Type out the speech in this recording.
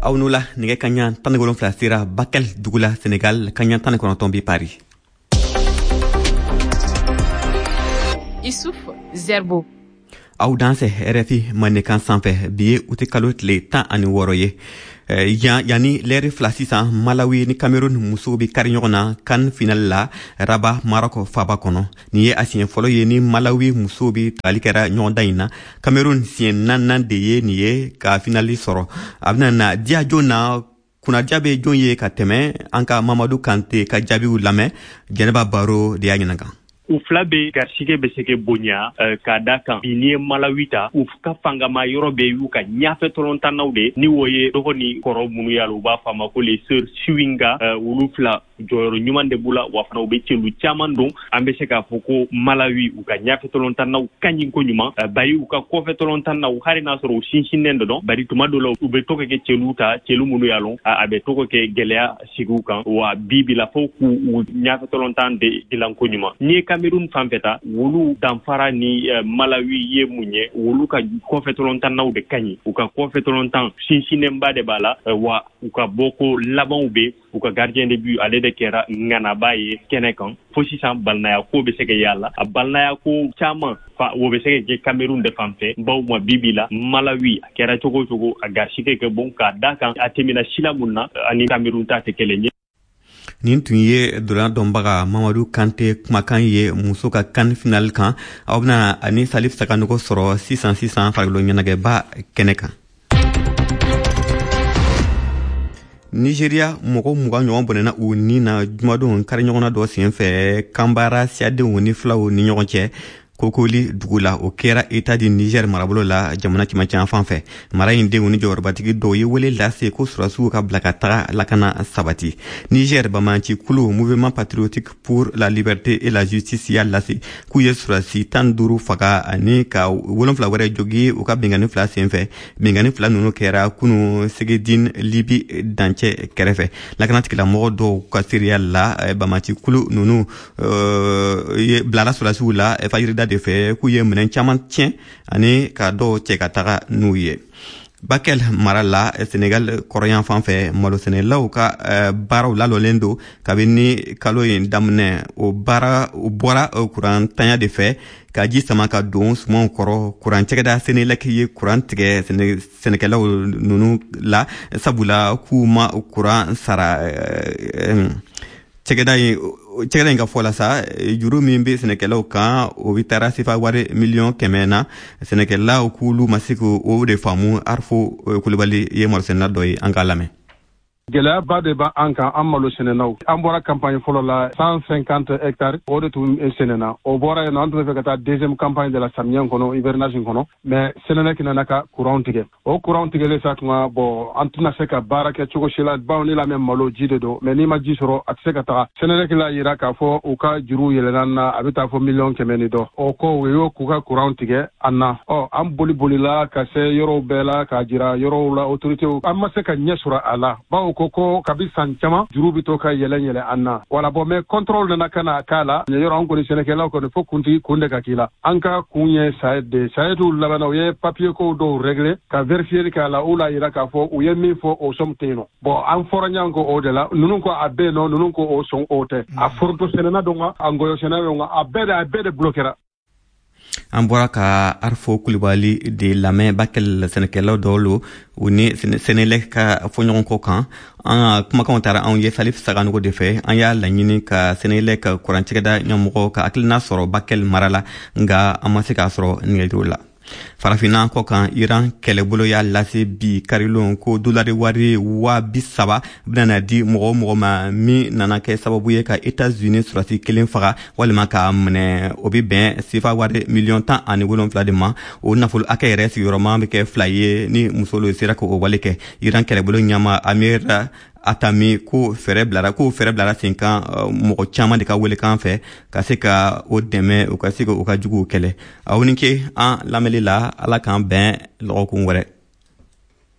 Aw n'u la, nɛgɛ kaɲa 17 sera Bakel dugu la Senegal, kaɲa 19 bi Paris. Issouf Zerbo. Aw dansɛ RFI Mandenkan sanfɛ. Bi ye uti kalo tile 16 ye. Yanni lɛri 2 sisan, Malawi ni Cameroun musow bɛ kari ɲɔgɔn na CAN final la Rabat, Maroc faba kɔnɔ. Nin ye a siɲɛ fɔlɔ ye ni Malawi musow bɛ tagali kɛra ɲɔgɔndan in na. Cameroun siɲɛ naaninan de ye nin ye ka finali sɔrɔ. A bɛna na diya jɔn na, kunnadiya bɛ jɔn ye ka tɛmɛ? An ka Mamadu Kante ka jaabiw lamɛn. Jɛnɛba Baro de y'a ɲininka. U fila bɛ garisɛgɛ bɛ se ka bonya k'a da kan bi. N'i ye Malawi ta, u ka fangama yɔrɔ bɛ y'u ka ɲafɛ tɔlɔntannaw de ni o ye dɔgɔ ni kɔrɔ minnu y'a la, u b'a fɔ a ma ko les sœurs Chiwinga. Olu fila jɔyɔrɔ ɲuman de b'u la, wa fana u bɛ celu caman don. An bɛ se k'a fɔ ko Malawi, u ka ɲafɛ tɔlɔntannaw ka ɲi koɲuman, bari u ka kɔfɛ tɔlɔntannaw, hali n'a sɔrɔ u sinsinnen dɔ dɔn, bari tuma dɔ la u bɛ to ka kɛ celu ta, celu minnu y'a lɔn a bɛ to ka kɛ gɛlɛya sigiw kan. Wa bi bi la, fo k'u ɲafɛ tɔlɔntan de dilan koɲuman. N'i ye Cameroun fan fɛ ta, wolu danfara ni Malawi ye mun ye? Wolu ka kɔfɛ tɔlɔntannaw de ka ɲi, u ka kɔfɛ tɔlɔntan sinsinnenba de b'a la, wa u ka bɔko labanw bɛ u ka gardien de but, ale de kɛra ŋanaba ye kɛnɛ kan. Fo sisan balinaya ko bɛ se ka y'a la, a balinaya ko caman fa o bɛ se ka kɛ Cameroun de fan fɛ, bawo ma bi bi la Malawi, a kɛra cogo o cogo, a garisɛgɛ kɛ bon k'a da kan a tɛmɛna sila mun na ani Cameroun ta tɛ kelen ye. Nin tun ye dolan dɔnbaga Mamadu Kante kumakan ye muso ka CAN final kan. Aw bɛna ani Salif Sakanogo sɔrɔ sisan sisan farikolo ɲɛnajɛba kɛnɛ kan. Nigeria, mɔgɔ 20 ɲɔgɔn bɔnɛna u ni na jumadon kari ɲɔgɔnna dɔ senfɛ Kanbara siyadenw ni filaw ni ɲɔgɔn cɛ Kokoli dugu la. O kɛra État du Niger marabolo la, jamana cɛmancɛ fan fɛ. Mara in denw ni jɔyɔrɔbatigi dɔw ye wele lase ko sɔrɔdasiw ka bila ka taga lakana sabati. Niger banbaanci kulu Mouvement patriotique pour la liberté et la justice y'a lase k'u ye sɔrɔdasi 15 faga ani ka 7 wɛrɛ jogi u ka binkanni fila senfɛ. Binkanni fila ninnu kɛra kunu Segedin, Libi dancɛ kɛrɛfɛ. Lakanatigilamɔgɔ dɔw ka seereya la, banbaanci kulu ninnu ye bilala sɔrɔdasiw la fajirida de fɛ k'u ye minɛn caman tiɲɛ ani ka dɔw cɛ ka taga n'u ye. Bakel mara la, Senegal kɔrɔyan fan fɛ, malosɛnɛlaw ka baaraw lalɔlen don kabini kalo in daminɛ. O baara o bɔra kuran tanya de fɛ ka ji sama ka don sumanw kɔrɔ. Kuran cɛgɛda Senelec ye kuran tigɛ sɛnɛkɛlaw ninnu la, sabula k'u ma kuran sara. Cɛgɛda in ka fɔ la sa, juru min bɛ sɛnɛkɛlaw kan, o bɛ taara sefa wari 100 000 000 na. Sɛnɛkɛlaw k'olu ma se k'o de faamu. Arfo Kulubali ye malosɛnɛna dɔ ye, an k'a lamɛn. Gɛlɛyaba de b'an kan, an malo sɛnɛnaw. An bɔra campagne fɔlɔ la, 150 hectares, o de tun sɛnɛna. O bɔra yen nɔ, an tun bɛ fɛ ka taa deuxième campagne de la samiyɛ kɔnɔ, hivernage kɔnɔ, mais Senelec nana ka courant tigɛ. O courant tigɛlen sa tuma, bon, an tɛna se ka baara kɛ cogo si la, bawo ni lamɛn malo ji de don, mais n'i ma ji sɔrɔ, a tɛ se ka taga. Senelec la yira k'a fɔ u ka juru yɛlɛnna na, a bɛ taa fɔ 100 000 ni dɔ. O ko u y'o k'u ka courant tigɛ an na. Ɔ an boli bolila ka se yɔrɔw bɛɛ la k'a jira yɔrɔw la autorités, an ma se ka ɲɛ sɔrɔ a la, bawo ko kabi san caman juru bɛ to ka yɛlɛ yɛlɛ an na. Wala, bon, mais contrôle nana ka na k'a la yɔrɔ. An kɔni sɛnɛkɛlaw kɔni, fo kuntigi kun de ka k'i la. An ka kun ye SAED de. SAED labanna, u ye papier kow dɔw régler ka vérifier k'a la. U la yira k'a fɔ u ye min fɔ, o somme tɛ yen nɔ. Bon, an fɔra ɲɔgɔn kɔ o de la. Ninnu ko a bɛ yen nɔ, ninnu ko o sɔn o tɛ. A foronto sɛnɛna don wa, a ngɔyɔ sɛnɛ don wa, a bɛɛ de bloquera. An bɔra ka Arfo Kulibali de lamɛn, Bakel sɛnɛkɛlaw dɔw lo, u ni Senelec ka fɔɲɔgɔnkɔ kan. An ka kumakanw taara anw ye Salif Saganogo de fɛ. An y'a laɲini ka Senelec kuran cɛgɛda ɲɛmɔgɔ ka hakilina sɔrɔ Bakel mara la, nga an ma se k'a sɔrɔ nɛgɛjuru la. Farafinna kɔ kan, Iran kɛlɛbolo y'a lase bi karilon ko dolari wari 30.000 bɛna di mɔgɔ o mɔgɔ ma min nana kɛ sababu ye ka Etats-Unis sɔrɔdasi kelen faga walima k'a minɛ. O bɛ bɛn sefa wari 17 000 000 de ma. O nafolo hakɛ yɛrɛ sigiyɔrɔma bɛ kɛ fila ye ni muso sera k'o wale kɛ. Iran kɛlɛbolo ɲɛma Amir Atami ko fɛɛrɛ bilara sen kan mɔgɔ caman de ka welekan fɛ ka se ka o dɛmɛ, u ka se ka u ka juguw kɛlɛ. Aw ni ke an lamɛnli la. Ala k'an bɛn lɔgɔkun wɛrɛ.